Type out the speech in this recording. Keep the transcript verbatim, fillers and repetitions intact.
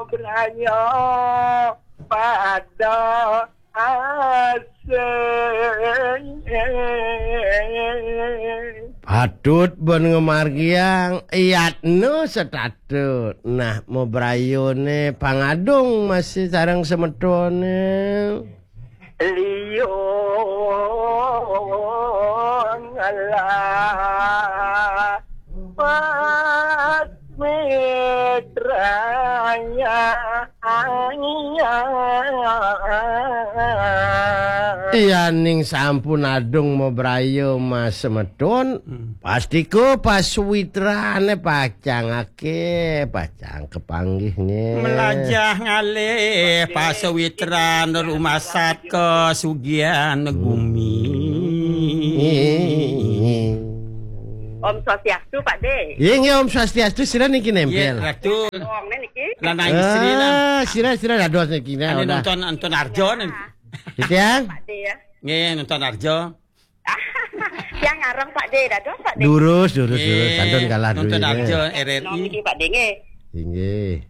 Braya pada asing. Patut ben ngamargiang yatna setatut. Nah, mabrayane pangadung masih sareng semetone. Liung lah pas mitranya. Iya, ning sampun adung mabraya mas semetun, pastika pasuwitrane pacangake, pacang kepanggihne. Melajah ngalih pasawitran rumasat kasugihan gumi. Om Swastiastu, Pak De. Iya, nggih, Om Swastiastu, sira niki nempel. Iya, Ratu. Wongne niki. Lanang istri lah. Ah, sira, sira dados niki, nah, ane udah. Nonton, nonton Arjo nih. Gitu ya? Pak De ya. Nggih, nonton Arjo. Yang ngarang Pak De, dados Pak De. Durus, durus, durus. Nggih, kantun kalah nonton dulu, Arjo, nggih. R R I. Nom niki Pak De nggih. Inggih.